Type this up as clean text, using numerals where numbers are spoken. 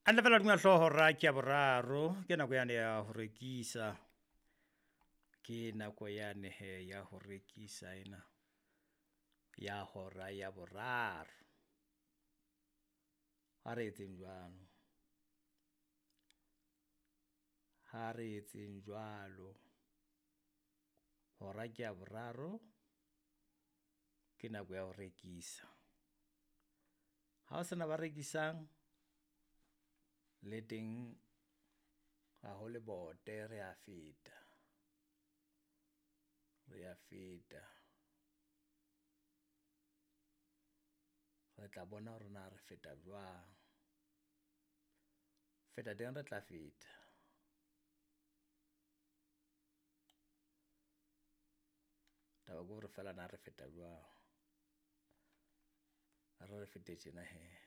Hantle fela hodima hlooho hora ke ya boraro, ke nako yane ya ho rekisa. Ke nako yane hee ya ho rekisa ena ya hora ya boraro. A re etseng jwalo, ha re etseng jwalo. Hora ke ya boraro, ke nako ya ho rekisa. Ha ho sena ba rekisang le teng ha ho lebote re a feta, re a feta. Re tla bona hore na re feta jwang, feta teng re tla feta. Taba ke hore feela na re feta jwang, a re re fete tjena hee.